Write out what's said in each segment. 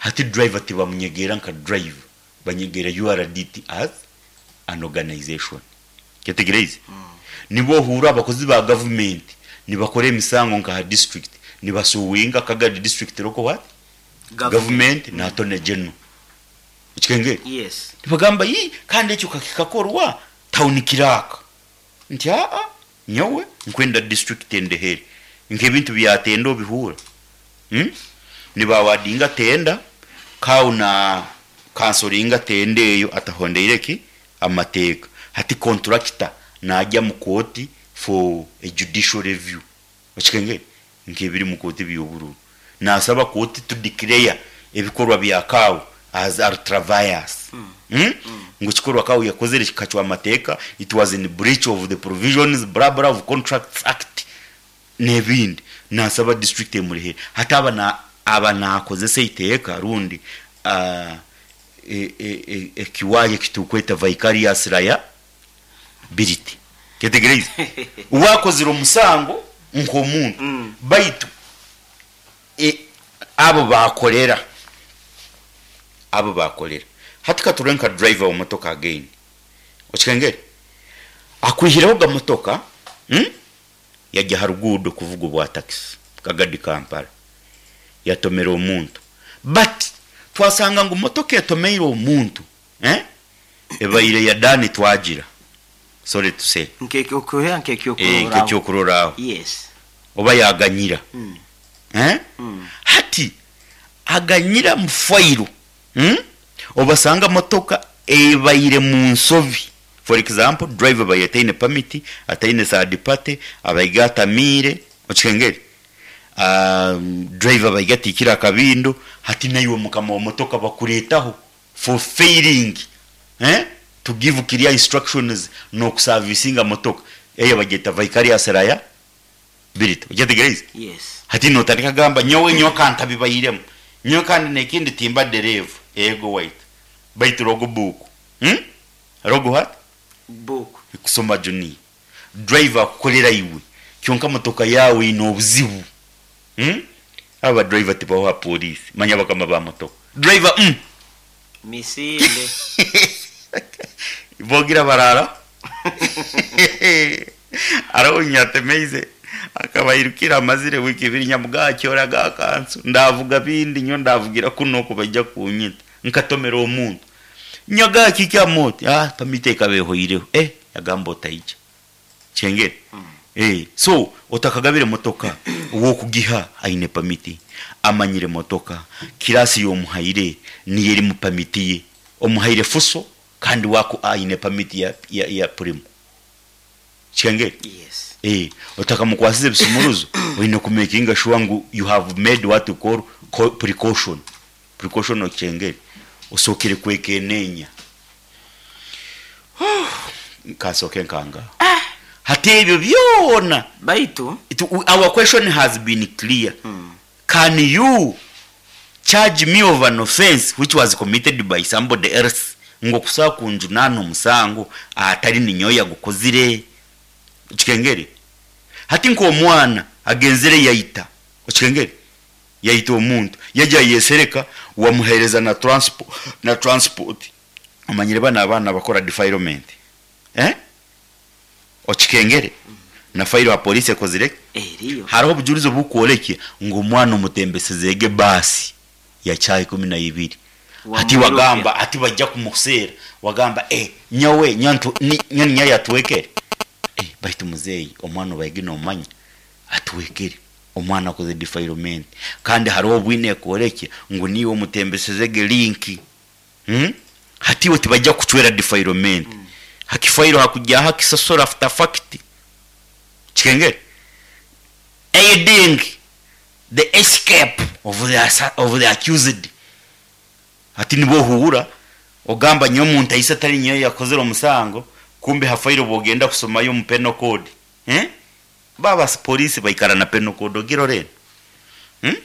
Hati driver tibamunyegeera nka driver, banyegeera URDT as an organization. Kyetegereize? Nibo ohuura abakozi ba gavumenti nibakora emisango nka aha district, nibasuwinga Kagadi district local what? Government na Attorney General. Okikengere? Yes. Nibagamba yii kandi ekyo kakikakorwa town clerk. Nti aa nyowe nkwenda district endehere. Nk'ebintu bya tenda obihuura? Umm niba awardinga tenda kawu na kansoringa tenda eyo atahondeire ki? Amateeka. Hati contractor nagya mu kooti for a judicial review. Okikengere? Nk'ebiri mu kooti by'obururu. Nasaba kooti to declare ebikorwa bya Kawu as ultra-vires. Umm ngu ekikorwa Kawu yakozire kikacwa amateeka, it was in breach of the provisions blah blah of Contracts Act n'ebindi. Nasaba district emurehere. Hati aba na aba nakozesa eiteeka rundi ekiwaaya eki turikweta vicarious liability. Kyetegyereize? Uwe akozire omusango nk'omuntu baitu abu baakorera, abu baakorera. Hati ka turebe nka driver wa motoka again. Okikengere? Akwihireho ga motoka, yagya aha ruguudo kuvuga obwa takisi Kagadi Kampala, yatomera omuntu. But twasanga ngu motoka etomeire omuntu eh, ebaire ya Dan Twagira, sorry to say. Nk'ekyokureeberaho. Eh, nk'ekyokuroraaho. Yes. Oba yaganyira. Eh? Hati aganyira mu fayiro, obasanga motoka ebaire mu nsobi. For example, driver abaire ataine permit, ataine third party, abaire atamiire, okihengere? Driver abaire atiikire akabindo, hati naiwe mukama wa motoka bakureetaho for failing to give clear instructions n'okusavisinga motoka, eyo bagyeta vicarious liability, okyetegereize? Yes. Hati notandika kugamba nyowe nyowe ka ntabibairemu, nyowe kandi n'ekindi timba dereeva, eego waitu, baitu log book, Log what? Book. Kusoma junior. Driver akukorera iwe kyonka motoka yaawe eine obuzibu. Umm abo ba driver tibaho aha police manya bakama ba motoka. Driver umm. Misinde. Bogira baraara Hariho nyatemeize akaba airukire amazire wiiki ibiri nyamuga akyora ga kansu ndavuga bindi nyowe ndavugira kunu oku baija kunyita nkatomera omuntu. Nyaga kiki oti ah permit ekaba ehoireho eh yagamba otaija kyengere eh so otakagabire motoka owokugiha aine permit amanyire motoka class yomuhaire niyo eri mu permit ye omuhaire fuso kandi we aine permit ya ya primo kyengere Yes. eh otakamukwasize ebisumuruzo oine ku makinga sure ngu you have made what you call precaution Precaution okyengere osookere kwekeneenya. Nkansooke nkangaho. Hati ebyo byona Baitu. It, our question has been clear. Can you charge me of an offense which was committed by somebody else? Ngu okusobola kunjunaana omusango atari ninyowe oyagukozire? Okikengere? Hati nk'omwana agenzire yaita, okikengere? Yaita omuntu, yaija yayesereka, wamuhereza na transpo na transport. Omanyire banu abaana abakora defilement eh? Okikengere? Na file aha police ekozire ki? Eriyo. Hariho obujurizi obukworekya ngu omwana omutembesezege baasi ya chaaha 12. Hati Wamwirukya. wagamba hati baija kumuseera wagamba eh nyowe nyowe ntu ni nyowe ninyowe yatwekere? Eh baitu muzeeyi omwana obaige nomanya atwekere. Omwana akozire defilement kandi hariho obwine ekworekye ngu niiwe omutembeseze ge link umm hati iwe tibaija kukucwera defilement hakifairo hakugyaho akisasura after fact kikengere aiding the escape of the of the accused hati nibwo ohuura ogamba nyowe omuntu aise atari nyowe yakozire omusango kumbe ha fairo bwogenda kusomayo omu penal code eeh. Ba police baikara na Penal Code ogirora enu? Umm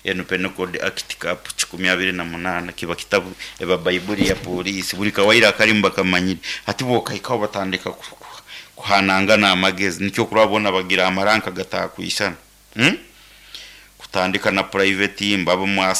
enu Penal Code Act Cap 28 kiba kitabu eba baibuli ya police buri kawaire akarimu bakamanyire. Hati bwokahikaho batandika kuhanangana amagezi nikyo okurora boona bagira amaranka gatakwisana. Umm kutandika na private mbabo mwa.